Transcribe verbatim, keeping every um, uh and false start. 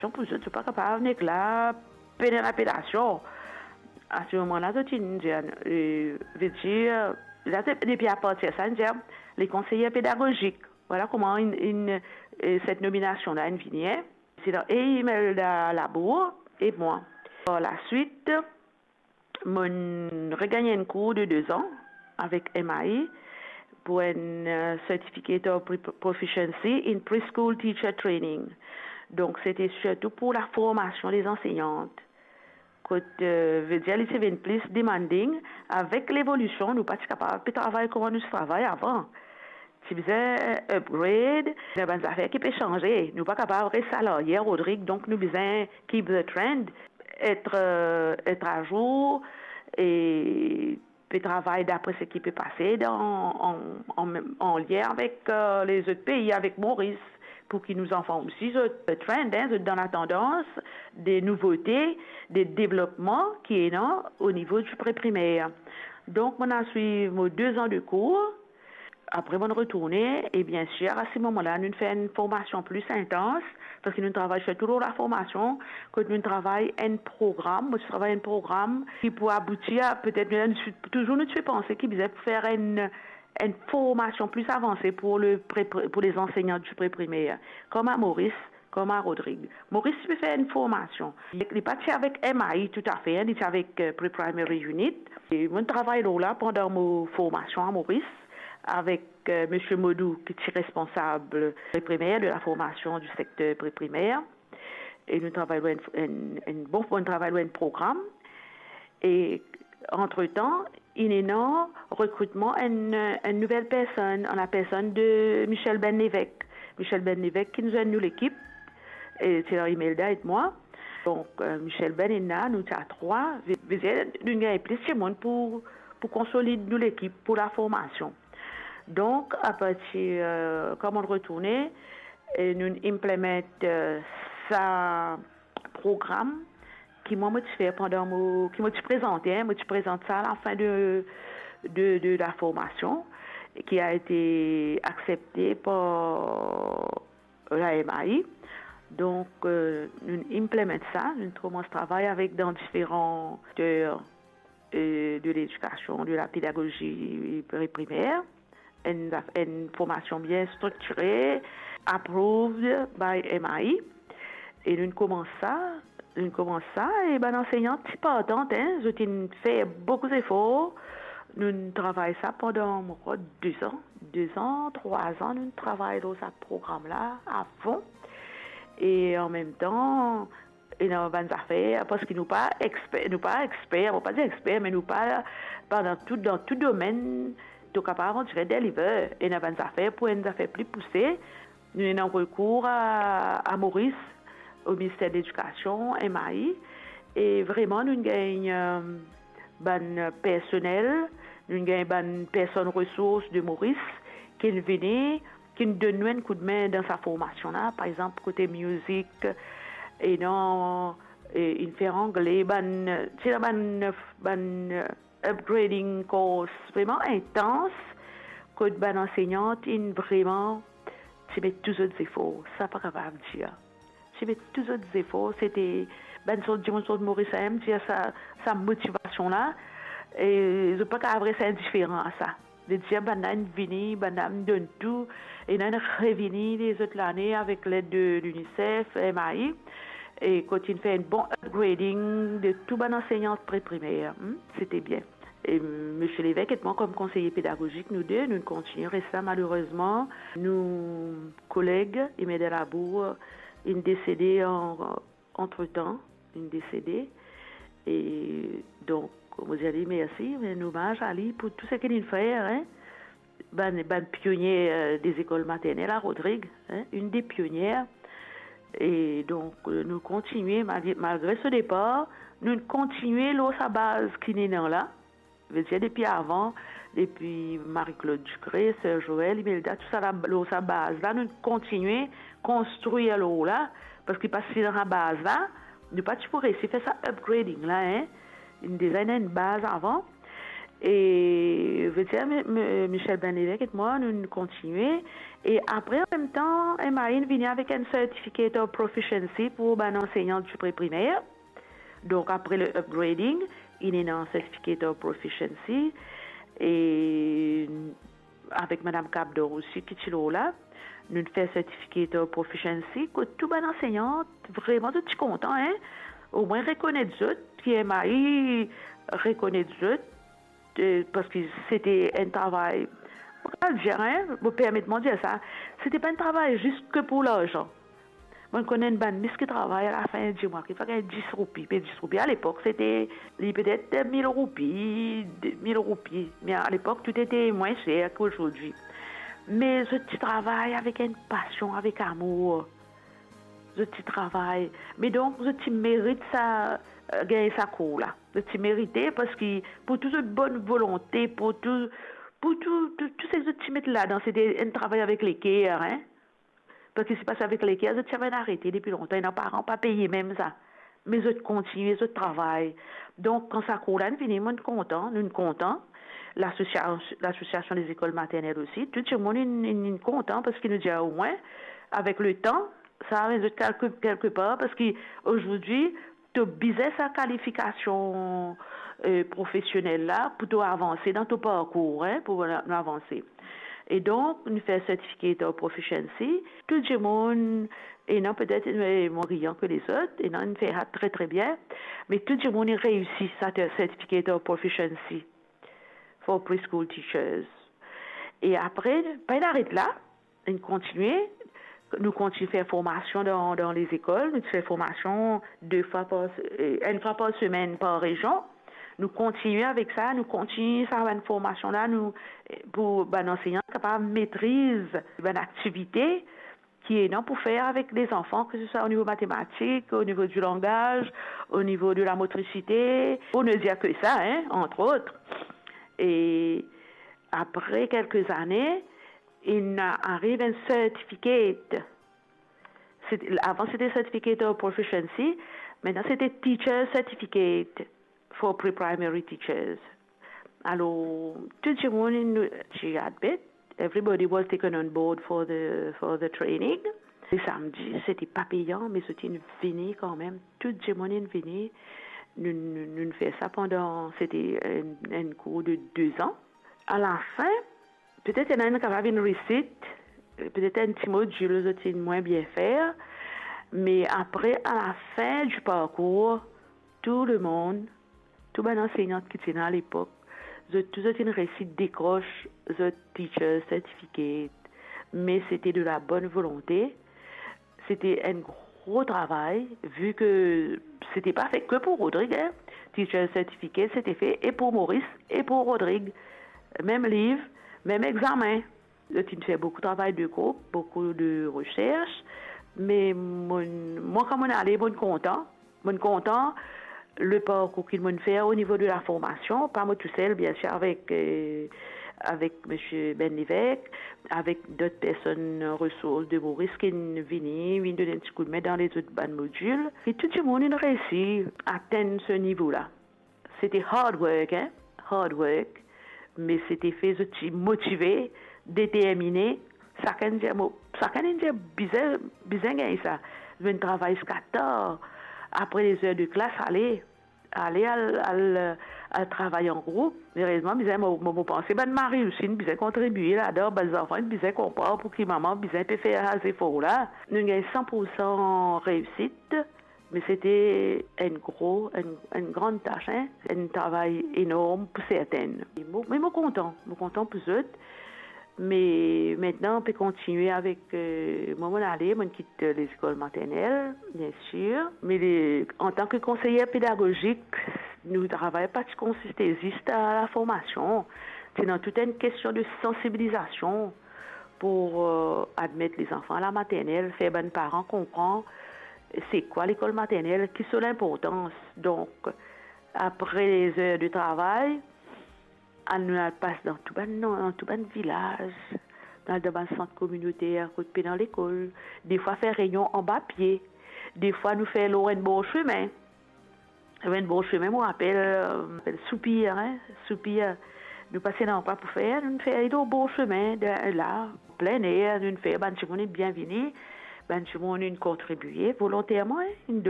Donk pou zot, zot pa kapav nek la, pena lapelasion. A se moman la, zot inn dir, eh, vedir, la, depi apartir sa, inn dir, le konseye pedagozik. Vwala kouma inn, inn, eh, set nominasion la inn vini, hein. Se dan e Imelda Labour e mwa. Par laswit, mo'nn regagn enn kour de de zan avek M A I pou enn, eh, Certificate of Pre-, Proficiency in Preschool Teacher Training. Donk, sete sirtou pou laformasion de zansenyant. Kot, eh, vedir, li ti vinn plis demanding. Avek levolision, nou pa ti kapav pe travay kouma nou ti travay avan. Ti bizin upgrade, ena bann zafer ki pe sanze. Nou pa kapav res alaryer, Rodrig, donk nou bizin keep the trend, et, eh, et azour e pe travay dapre seki pe pase dan, an, an, an lien avek, eh, lezot pei, avek Moris, pou ki nou zanfan osi, zot trend, hein, zot dan latandans de nouvote, de devlopman ki ena o nivo di pre-primer. Donk, mo'nn al swiv mo de zan de kour. Apre, mo'nn retourne, e biensir, a se moman la, nounn fer enn formasion plis intans, parski nounn travay sirtou lor laformasion, kot nounn travay enn program, mo ti travay enn program ki pou abouti a, petet, nou, nou, touzour nou ti pe panse ki bizin pou fer enn, enn formasion plis avanse pou le pre-, pou lezansenyant di pre-primer, kouma Moris, kouma Rodrig. Moris ti pe fer enn formasion. Li pa ti avek M A I toutafe, hein, li ti avek, eh, Pre-Primary Unit. E mo'nn travay lor la pandan mo formasion a Moris avek, eh, Misie Modou, ki ti responsab pre-primer, de laformasion di sekter pre-primer. E nou travay lor enn, enn, enn bon, nou travay lor enn program. E antretan, inn ena rekritman enn, enn nouvel personn, an lapersonn de Michel Ben Levesque. Michel Ben Levesque ki inn zwenn nou lekip, e ti Imelda ek mwa. Donk, eh, Michel Ben inn la, nou ti a trwa, ve-, vedir, nou gagn plis dimoun pou, pou konsolid nou lekip, pou laformasion. Donk, apartir, eh, kan mo'nn retourne, e nounn implement, eh, sa program ki mwa mo ti fer pandan mo, ki mo ti prezante, hein, mo ti prezant sa a lafin de, de, de laformasion, ki a ete aksepte par la M A I. Donk, eh, nounn implement sa, nounn koumans travay avek dan diferan sekter, eh, de ledikasion, de lapedagozi pre-primer, enn, enn formasion bien striktire, approved by M I. E nounn koumans sa, nounn koumans sa, e bann ansenyant ti partan, hein, zot inn fer boukou zefor. Nounn travay sa pandan, mo krwar, de zan, de zan, trwa zan, nounn travay lor sa program la a fon. E an mem tan, ena bann zafer, parski nou pa exper, nou pa exper, mo pa dir exper, me nou pa, pa dan tou, dan tou domenn, to kapav, on dirait, deliver. Ena bann zafer pou enn zafer pli pouse, nou ena rekour a, a Moris, o Minister Ledikasion, M I, e vreman nou gagn, eh, bann personel, nou gagn bann personn resours de Moris, ki vini, ki donn nou enn koudme dan sa formasion la, par exanp, kote music, e dan, e, inn fer angle, bann, ti ena bann, bann upgrading course vreman intans, kot bann ansenyant inn vreman ti met tou zot zefor, sa pa kapav dir. Ti met tou zot zefor, sete bann sort dimoun sort Moris, sa mem dir sa, sa motivasion la, e zot pa kapav res indiferan a sa. Vedir, bannla inn vini, bannla inn donn tou, e ena inn revini lezot lane avek led de l'UNICEF, M I, e kot inn fer enn bon upgrading de tou bann ansenyant pre-primer, hmm, sete bien. E Misie Levesque ek mwa, kom konseye pedagozik, nou de, nou kontigne res la. Malerezman, nou koleg Imelda Labour inn desede an, antretan, inn desede. E donk, mo dir li mersi, rann omaz a li pou tou seki li'nn fer, hein. Bann, bann pionie, eh, de lekol maternel a Rodrig, hein, inn de pionie. E donk, eh, nou kontigne, malgre, malgre so depar, nou kontigne lor sa baz ki inn ena la. Vedir, depi avan, depi Marie-Claude Ducré, Sœur Joëlle, Imelda, tousala, lor sa baz la, nou kontigne konstrir lor la, parski pa si dan sa baz la, nou pa ti pou resi fer sa upgrading la, hein. Inn deza ena enn baz avan. E, vedir, mi-, mi-, Michel Benlevec ek mwa, nou, nou kontigne. E apre, an mem tan, M I inn vini avek enn Certificate of Proficiency pou bann ansegnan diprimer. Donk, apre le upgrading, inn ena Certificate of Proficiency. E avek Madam Cabdor osi, ki ti lor la, nou fer Certificate of Proficiency, kot tou bann ansegnan, vreman, zot ti kontan, en. Omwin rekonet zot, ki M I rekonet zot, e, parski sete enn travay, mo kapav dir, en, mo permet mwa dir sa, sete pa enn travay zis ke pou larzan. Mo konn enn bann mis ki travay, alafin di mwa ki fek gagn dis roupi, pe dis roupi. Alepok, sete, li petet mil roupi, de mil roupi. Me alepok, tou ete mwin ser ki azordi. Me zot ti travay avek enn pasion, avek amour. Zot ti travay. Me donk, zot ti merit sa, e, gagn sa kour la. Zot ti merite, parski pou tou zot bonn volonte, pou tou, pou tou, tou, tou seki zot ti met ladan, sete enn travay avek leker, en. Parski si pa ti avek leker, zot ti ava arete depi lontan, ena paran pa peye mem sa. Me zot kontigne zot travay. Donk, kan sa kour la inn vini, mo'nn kontan, nou'nn kontan. Lasosia-, Lasosiasion dezekol maternel osi, tou dimoun inn, inn, inn kontan, parski nou dir omwin, avek letan, sa amenn zot kelke, kelke par, parski azordi, to bizin sa kalifikasion, e, profesionel la pou to avanse dan to parkour, en, pou nou avanse. E donk, nou fer Certificate of Proficiency, tou dimoun, ena petet, e, mo riyan ke lezot, ena inn fer sa tre, tre bien, me tou dimoun inn reisi sa Certificate of Proficiency for preschool teachers. E apre, pa inn aret la, inn kontigne, nou kontigne fer formasion dan, dan lezekol, nou ti fer formasion de fwa par se-, e, enn fwa par semenn par rezion. Nou kontigne avek sa, nou kontigne sa bann formasion la, nou, e, pou bann ansegnan kapav metriz bann aktivite ki ena pou fer avek lezanfan, ke se swa o nivo matematik, o nivo di langaz, o nivo de lamotrisite, pou ne dir ke sa, en, antre ot. E apre kelke zane, inn ariv enn certificate. Sete, avan sete Certificate of Proficiency, mintnan sete Teacher Certificate for Pre-Primary Teachers. Alor, tou dimoun inn, ti admet, everybody was taken on board for the, for the training. Le samdi, sete pa peyan, me zot inn vini kanmem, tou dimoun inn vini. Nou, nou, nou fer sa pandan, sete enn, enn kour de de zan. Alafin, petet ena enn kapav inn resit, petet enn ti modil zot inn mwin bien fer, me apre, alafin di parkour, tou lemonn, tou bann ansegnan ki ti ena alepok, zot tou zot inn reisi dekros zot teacher certificate, me sete de la bonne volonté, sete enn gro travay, vi ke sete pa fe ke pou Rodrig, en. Teacher certificate, sete fe e pou Moris, e pou Rodrig. Mem liv, mem examen. Zot inn fer boukou travay de group, boukou de resers, me mo, mwa, kan mo'nn ale, mo'nn kontan. Mo'nn kontan le parkour ki mo'nn fer o nivo de la formasion, pa mo tousel, biensir, avek, e, avek misie Benlevec, avek dot personn resours de Moris ki'nn vini, vinn donn enn ti koudme dan lezot bann modil. E tou dimoun inn reisi atenn se nivo la. Sete hard work, en, hard work, me sete fe zot ti motive, determine. Sakenn dir, mo, sakenn inn dir bizin, bizin gagn sa. Zot inn travay ziska tar, apre lezer de klas, ale, ale al, al, al travay an group. Erezman, bizin, mo, mo, mo panse bann mari osi inn bizin kontribie ladan, bann zanfan inn bizin konpran pouki mama bizin pe fer sa zefor la. Nou gagn san pour san reisit. Me sete enn gro, enn, enn gran tas, en, enn travay enorm pou sertin. Me mo, me mo kontan, mo kontan pou zot. Me mintnan, pe kontigne avek, e, mwa, mo'nn ale, mo'nn kit, e, lezekol maternel, biensir. Me le, antan ke konseyer pedagozik, nou travay pa ti konsiste zis a la formasion. Ti ena tou enn kestion de sansibilizasion pou, e, admet lezanfan a la maternel, fer bann paran konpran se kwa lekol maternel, ki so linportans. Donk, apre lezer de travay, al, nou al pas dan tou bann, dan tou bann vilaz, dan, dan bann sant kominoter kot pena lekol. Defwa fer reynion anba pie. Defwa nou fer lor enn bor sime. Lor enn bor sime, mo rapel, e, apel Soupir, en, Soupir. Nou pase ena ankor pou fer, nou fer li lor bor sime, de la, plein air, nou fer, bann dimoun inn bien vini, bann dimoun inn kontribie volonterman, inn donn